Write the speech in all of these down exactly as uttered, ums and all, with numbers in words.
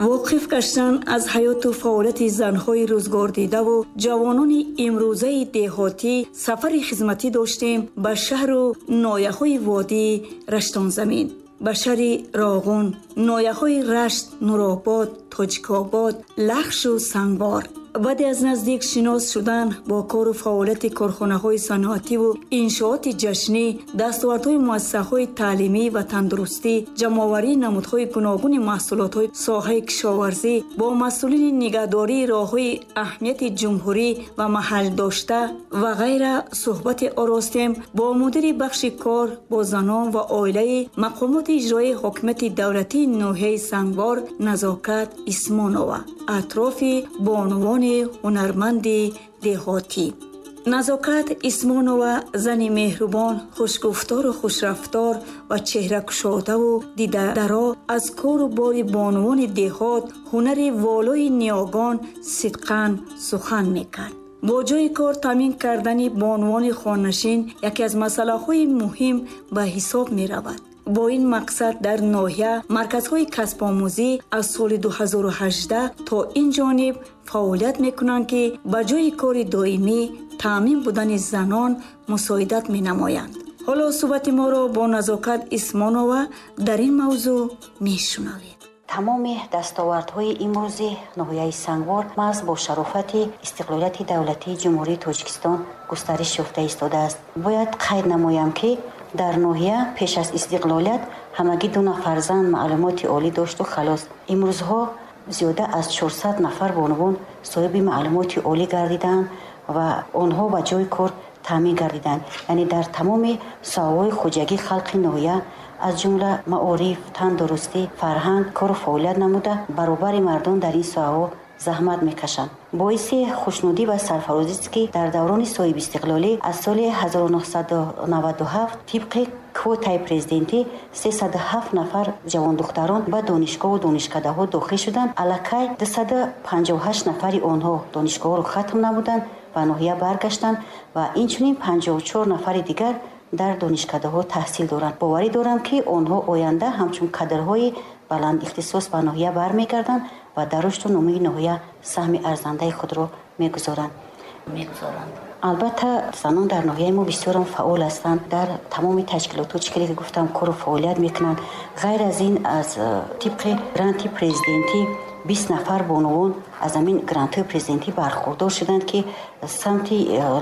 Воқиф гаштан аз ҳаёту фаъолияти занҳои рӯзгордидаву ҷавонони имрӯзаи деҳотӣ сафари хизматӣ доштем ба шаҳру ноҳияҳои водии Раштонзамин, ба шаҳри Роғун, ноҳияҳои Рашт, Нуробод, Тоҷикобод, Лахшу Сангвор. Баъде аз наздик шинос шудан бо кору фаъолияти корхонаҳои саноативу иншооти ҷашнӣ, дастовардҳои муассисаҳои таълимӣ ва тандурустӣ, ҷамъоварии намудҳои гуногуни маҳсулотҳои соҳаи кишоварзӣ бо масъулини нигаҳдории роҳҳои аҳамияти ҷумҳурӣ ва маҳалдошта ва ғайра суҳбате оростем бо мудири бахши кор бо занон ва оилаи мақомоти иҷроии ҳокимияти давлатии ноҳияи Сангвор Назокат Исмонова атрофи бонувони ҳунарманди деҳотӣ. Назокат Исмонова зани меҳрубон, хушгуфтору хушрафтор ва чеҳракушодаву дидадаро аз кору бори бонувони деҳот, ҳунари волои ниёгон сидқан сухан мекард. Бо ҷойи кор таъмин кардани бонувони хонашин яке аз масъалаҳои муҳим ба ҳисоб меравад. Бо ин мақсад дар ноҳия марказҳои касбомӯзӣ аз соли ду ҳазору ҳаждаҳ то ин ҷониб фаъолият мекунанд, ки ба ҷойи кори доимӣ таъмин будани занон мусоидат менамоянд. Ҳоло суҳбати моро бо Назокат Исмонова дар ин мавзӯъ мешунавед. Тамоми дастовардҳои имрӯзи ноҳияи Сангвор маҳз бо шарофати истиқлолияти давлатии Ҷумҳурии Тоҷикистон густариш ёфта истодааст. Бояд қайд намоям, ки дар ноҳия пеш аз истиқлолият ҳамагӣ ду нафар зан маълумоти олӣ дошту халос. Имрӯзҳо зиёда аз чорсад нафар бонувон соҳиби маълумоти олӣ гардиданд ва онҳо ба ҷойи кор таъмин гардиданд. Яъне дар тамоми соҳаҳои хоҷагии халқи ноҳия, аз ҷумла маориф, тандурустӣ, фарҳанг кору фаъолият намуда, баробари мардон дар ин соҳаҳо заҳмат мекашанд. Боиси хушнудӣ ва сарфарозист, ки дар даврони соҳибистиқлолӣ аз соли ҳазору нӯҳсаду наваду ҳафт тибқи квотаи президентӣ сесаду ҳафт нафар ҷавондухтарон ба донишгоҳу донишкадаҳо дохил шуданд. Аллакай дусаду панҷоҳу ҳашт нафари онҳо донишгоҳро хатм намуданд, ба ноҳия баргаштанд ва инчунин панҷоҳу чор нафари дигар дар донишкадаҳо таҳсил доранд. Боварӣ дорам, ки онҳо оянда ҳамчун кадрҳои баланд ихтисос ба ноҳия бармегарданд ва дар рушду нумӯи ноҳия саҳми арзандаи худро мегузоранд. Мегузоранд. Албатта, занон дар ноҳияи мо бисёрам фаъол ҳастанд. Дар тамоми ташкилотҳо, чӣ хеле ки гуфтам, кору фаъолият мекунанд. Ғайр аз ин, аз тибқи гранти президентӣ бист нафар бонувон аз ҳамин грантҳои президентӣ бархурдор шуданд, ки самти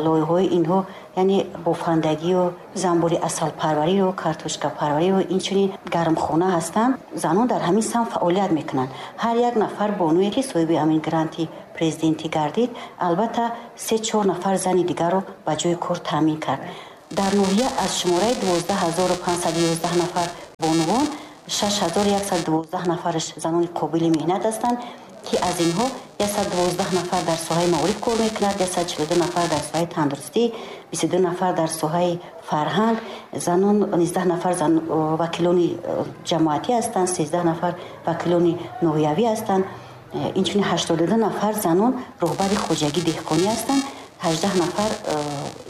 лоиҳаҳои инҳо, яъне бофандагию занбури асалпарварию картошкапарварию инчунин гармхона ҳастанд. Занон дар ҳамин самт фаъолият мекунанд. Ҳар як нафар бонуе, ки соҳиби ҳамин гранти президентӣ гардид, албатта се-чор нафар зани дигарро ба ҷойи кор таъмин кард. Дар ноҳия аз шумораи дувоздаҳ ҳазору панҷсаду ёздаҳ нафар бонувон, шаш ҳазору яксаду дувоздаҳ нафараш занони қобили меҳнат ҳастанд, ки аз инҳо яксаду дувоздаҳ нафар дар соҳаи маориф кор мекунад, яксаду чилу ду нафар дар соҳаи тандурустӣ, бисту ду нафар дар соҳаи фарҳанг, занон низдаҳ нафар зан, вакилони ҷамоатӣ ҳастанд, сездаҳ нафар вакилони ноҳиявӣ ҳастанд, инчунин ҳаштоду ду нафар занон роҳбари хоҷагии деҳқонӣ ҳастанд, ҳаждаҳ нафар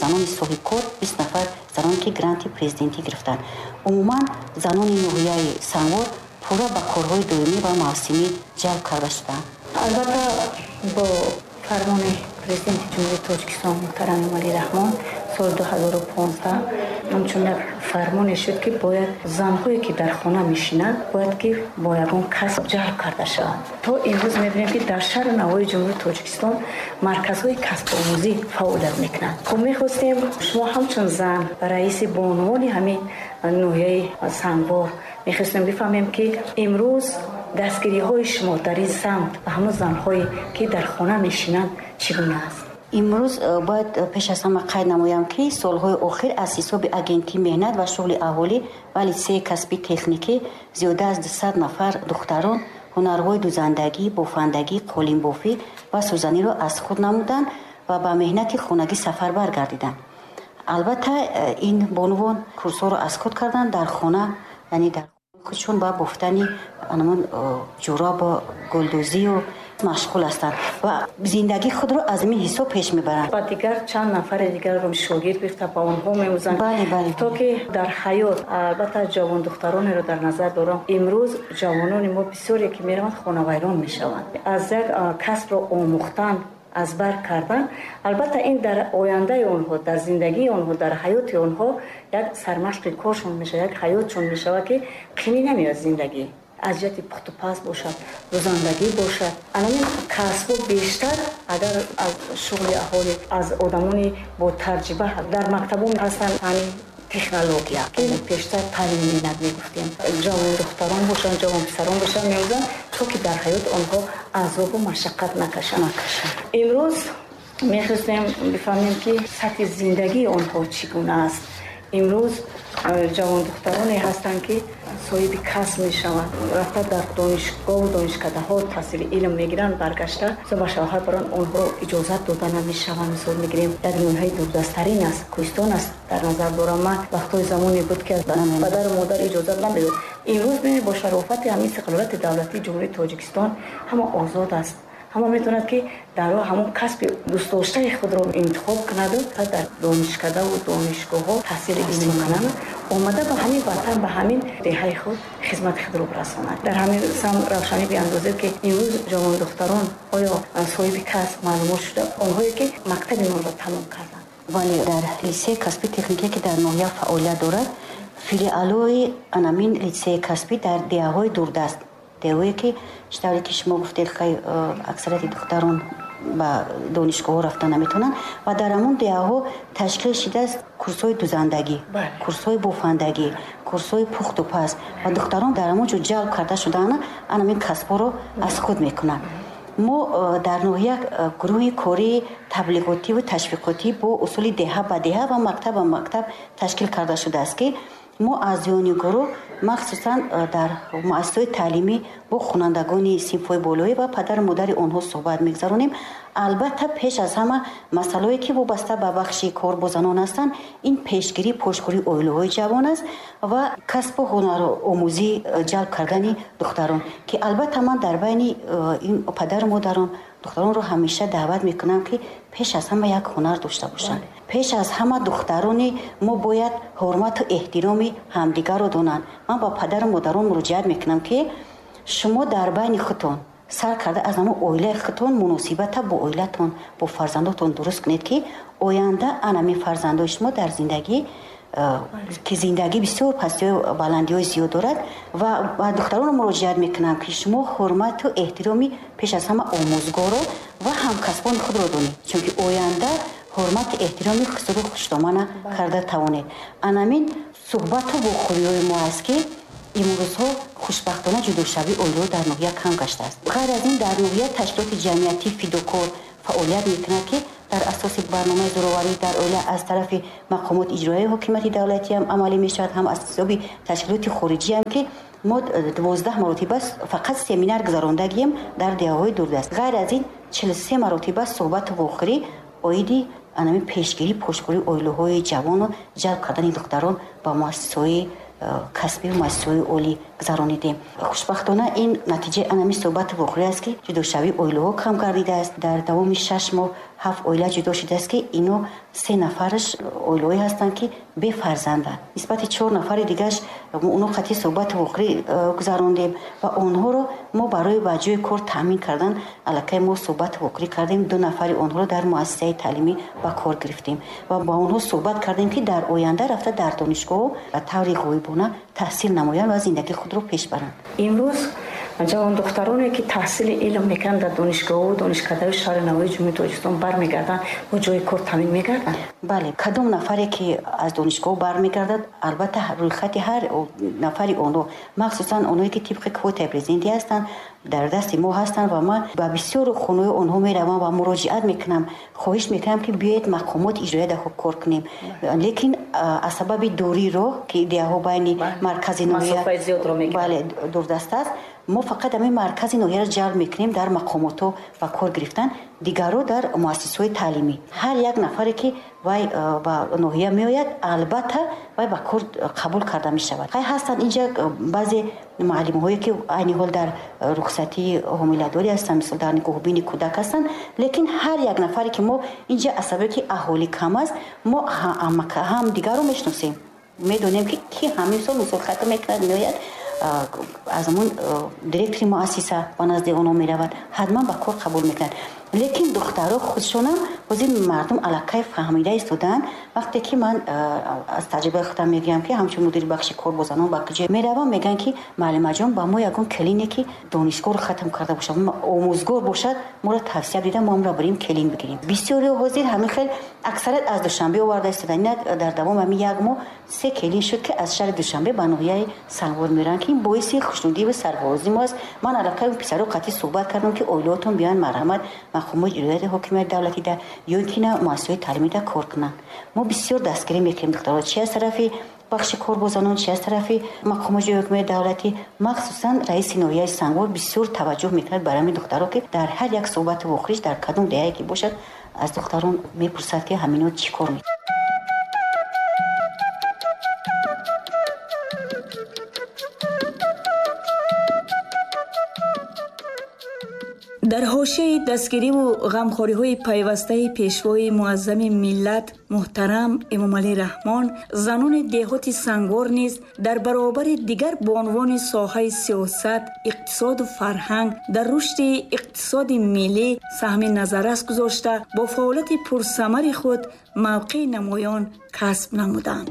занони соҳибкор, бист нафар заноне, ки гранти президентӣ гирифтанд. Умуман занони ноҳияи Сангвор пурра ба корҳои доимӣ ва мавсимӣ ҷалб карда шуданд. Албатта, бо фармони президенти Ҷумҳурии Тоҷикистон муҳтарам Эмомалӣ Раҳмон соли ду ҳазору понздаҳ ҳамчун як фармоне шуд, ки бояд занҳое, ки дар хона мешинанд, бояд ки бо ягон касб ҷалб карда шаванд. То имрӯз мебинем, ки дар шаҳру навоҳии Ҷумҳурии Тоҷикистон марказҳои касбомӯзӣ фаъолият мекунанд. Хуб, мехостем шумо ҳамчун зан раиси бонувони ҳамин ноҳияи Сангвор, мехостем бифаҳмем, ки имрӯз дастгириҳои шумо дар ин самт ба ҳамон занҳое, ки дар хона мешинанд, чӣ гуна аст? Имрӯз бояд пеш аз ҳама қайд намоям, ки солҳои охир аз ҳисоби агентии меҳнат ва шуғли аҳолӣ ва литсеи касби техникӣ зиёда аз дусад нафар духтарон ҳунарҳои дузандагӣ, бофандагӣ, қолинбофӣ ва сӯзаниро аз худ намуданд ва ба меҳнати хонагӣ сафарбар гардиданд. Албатта, ин бонувон курсҳоро аз худ карданд дар хона, яъне дар худшон ба бофтани анамон ҷӯробу гулдӯзию машғул ҳастанд ва зиндагии худро аз ин ҳисоб пеш мебаранд. Ва дигар чанд нафари дигарро шогирд гирифта ба онҳо меомӯзанд. Бале, бале. То ки дар ҳаёт, албатта ҷавон духтаронеро дар назар дорам. Имрӯз ҷавонони мо бисёре ки мераванд хонавайрон мешаванд. Аз як касбро омӯхтан, аз бар кардан, албатта ин дар ояндаи онҳо, дар зиндагии онҳо, дар ҳаёти онҳо як сармашқи коршон мешавад, як ҳаётшон мешавад, ки қимӣ намеояд зиндагӣ. Аз ҷиҳати пухтупаз бошад, дузандагӣ бошад. Анамин касбҳо бештар агар аз шуғли аҳолӣ, аз одамони бо таҷриба дар мактабҳо ҳастанд, ҳамин технология ки пештар таълим менад мегуфтем. Ҷавон духтарон бошанд, ҷавон писарон бошанд меомӯзанд, то ки дар ҳаёт онҳо азобу машаққат накашанд. Имрӯз мехостем бифаҳмем, ки сатҳи зиндагии онҳо чӣ гуна аст. Имрӯз ҷавон духтароне ҳастанд, ки соҳиби касб мешаванд, рафта дар донишгоҳу донишкадаҳо таҳсили илм мегиранд, баргашта ба шавҳар баранд, онҳоро иҷозат дода намешаванд. Мисол мегирем, як ноҳияи дурдасттарин аст, кӯҳистон аст, дар назар дорам ман. Вақтҳои замоне буд, ки падару модар иҷозат намедод. Имрӯз бинед, бо шарофати ҳамин истиқлолияти давлатии Ҷумҳурии Тоҷикистон ҳама озод аст. Ҳама метавонад, ки дар ҳамон касби дӯстдоштаи худро интихоб кунаду дар донишкадаву донишгоҳҳо таҳсили илм кунанд, омада ба ҳамин ватан, ба ҳамин деҳаи худ хизмати худро расонад. Дар ҳамин самт равшанӣ биандозед, ки имрӯз ҷавондухтарон оё соҳиби касб маълумот шуда, онҳое ки мактаби моро тамом карданд? Бале, дар литсеи касби техникие, ки дар ноҳия фаъолият дорад, филиалҳои анамин литсеи касбӣ дар деҳаҳои дурдаст, деҳое ки чӣ тавре ки шумо гуфтед, хай аксарияти духтарон ба донишгоҳҳо рафта наметавонанд ва дар ҳамон деҳаҳо ташкил шудааст курсҳои дузандагӣ, курсҳои бофандагӣ, курсҳои пухтупаз ва духтарон дар ҳамон ҷо ҷалб карда шудаанд, анамин касбҳоро аз худ мекунанд. Мо дар ноҳия гурӯҳи кории таблиғотиву ташвиқотӣ бо усули деҳа ба деҳа ва мактаб ба мактаб ташкил карда шудааст, ки мо аъзоёни гурӯҳ махсусан дар муассисаҳои таълимӣ бо хонандагони синфҳои болоӣ ва падару модари онҳо суҳбат мегузаронем. Албатта, пеш аз ҳама масъалаҳое, ки вобаста ба бахши кор бо занон ҳастанд, ин пешгирӣ, пошхӯрии оилаҳои ҷавон аст ва касбу ҳунаромӯзӣ ҷалб кардани духтарон, ки албатта ман дар байни ин падару модарон духтаронро ҳамеша даъват мекунам, ки пеш аз ҳама як ҳунар дошта бошанд. Пеш аз ҳама духтарони мо бояд ҳурмату эҳтироми ҳамдигарро донанд. Ман ба падару модарон муроҷиат мекунам, ки шумо дар байни худтон сар карда аз ҳамон оилаи худтон муносибата бо оилатон, бо фарзандотон дуруст кунед, ки оянда анамин фарзандои шумо дар зиндагӣ, ки зиндагӣ бисёр пастиҳою баландиҳои зиёд дорад. Ва ба духтаронро муроҷиат мекунам, ки шумо ҳурмату эҳтироми пеш аз ҳама омӯзгорро ва ҳамкасбони худро донед, чунки оянда ҳурмату эҳтироми хусуру хушдомана карда тавонед. Анамин суҳбату вохӯриҳои мо аст, ки имрӯзҳо хушбахтона ҷудошавии оилаҳо дар ноҳия кам гаштааст. Ғайр аз ин, дар ноҳия ташкилоти ҷамъиятии фидокор фаъолият мекунад, ки дар асоси барномаи зӯроварӣ дар оила аз тарафи мақомоти иҷроияи ҳокимияти давлатӣ ҳам амалӣ мешавад, ҳам аз ҳисоби ташкилоти хориҷӣ ҳам, ки мо дувоздаҳ маротиба фақат семинар гузарондагием дар деҳаҳои дурдаст. Ғайр аз ин, чилу се маротиба суҳбату вохӯрӣ оиди анамин пешгирӣ, пошхӯрии оилаҳои ҷавону ҷалб кардани духтарон ба муассисаҳои касбӣ ва муассисаҳои олӣ гузаронидем. Хушбахтона, ин натиҷаи анамин суҳбату вохӯрӣ аст, ки ҷудошавии оилаҳо кам гардидааст. Дар давоми шаш моҳ ҳафт оила ҷудо шудааст, ки ино се нафараш оилаҳое ҳастанд, ки бефарзанданд. Нисбати чор нафари дигараш мо оно қатъи суҳбату вохӯрӣ гузарондем ва онҳоро мо барои ба ҷои кор таъмин кардан аллакай мо суҳбату вохӯрӣ кардем. Ду нафари онҳоро дар муассисаи таълимӣ ба кор гирифтем ва ба онҳо суҳбат кардем, ки дар оянда рафта дар донишгоҳ ба таври ғоибона таҳсил намоянд ва зиндагии худро пеш баранд. Имрӯз ҷавондухтароне, ки таҳсили илм мекунанд дар донишгоҳу донишкадаҳои шаҳри Навоии Ҷумҳурии Тоҷикистон бармегарданд, бо ҷои кор таъмин мегарданд? Бале, кадом нафаре, ки аз донишгоҳ бармегардад, албатта рӯйхати ҳар нафари онҳо, махсусан онҳое, ки тибқи квотаи президентӣ ҳастанд, дар дасти мо ҳастанд ва ман ба бисёр хонаҳои онҳо меравам ва муроҷиат мекунам, хоҳиш мекунам, ки биёед мақомоти иҷроия дар кор кунем. Лекин аз сабаби дурии роҳ, ки деҳаҳо байни маркази ноҳия бале дурдаст аст, Мо фақат ҳамин маркази ноҳияро ҷалб мекунем дар мақомотҳо ба кор гирифтан, дигарро дар муассисаҳои таълимӣ. Ҳар як нафаре ки вай ба ноҳия меояд, албатта вай ба кор қабул карда мешавад. Хай ҳастанд инҷа баъзе муаллимҳое ки айни ҳол дар рухсатии ҳомиладорӣ ҳастанд, мисол дар нигоҳубини кӯдак ҳастанд, лекин ҳар як нафаре ки мо инҷа аз сабаби ки аҳолӣ кам аст, мо ҳам дигарро мешиносем, медонем ки ки ҳамин сол мисол хатм мекунад, меояд, аз ҳамон директори муассиса ба назди онҳо меравад, ҳатман ба кор қабул мекунад. Лекин духтаро худшонам ҳозир мардум аллакай фаҳмида истодаанд. Вақте ки ман аз таҷрибаи худам мегӯям ки ҳамчун мудири бахши кор бо занон ба куҷо меравам, мегӯянд ки муаллимаҷон, ба мо ягон келине ки донишгоҳро хатм карда бошад, омӯзгор бошад, моро тавсия дида, мо ҳамро барем келин бигирем. Бисёриҳо ҳозир ҳамин хел аксарият аз Душанбе оварда истодаанд. Инак дар давоми ҳамин як моҳ се келин шуд ки аз шаҳри Душанбе ба ноҳияи Сангвор мераванд, ки ин боиси хушнудӣ ва сарфарозии мо аст. Ман аллакай писаро қатъӣ суҳбат кардам ки оилаотон биёянд марҳамат мақомоти иҷроияи ҳокимияти давлатида ё ин ки на муассисаҳои таълимида кор кунанд. Мо бисёр дастгирӣ мекунем духтаро, чи аз тарафи бахши кор бо занон, чи аз тарафи мақомоти иҷроияи ҳокимияти давлатӣ. Махсусан раиси ноҳияи Сангвор бисёр таваҷҷӯҳ мекунад бар ҳамин духтаро, ки дар ҳар як суҳбату вохӯриш дар кадом деҳае ки бошад аз духтарон мепурсад ки ҳамино чӣ кор мекунанд. Дар ҳошияи дастгириву ғамхориҳои пайвастаи пешвои муаззами миллат муҳтарам Эмомалӣ Раҳмон, занони деҳоти Сангвор низ дар баробари дигар бонувони соҳаи сиёсат, иқтисоду фарҳанг дар рушди иқтисоди миллӣ саҳми назаррас гузошта, бо фаъолияти пурсамари худ мавқеи намоён касб намуданд.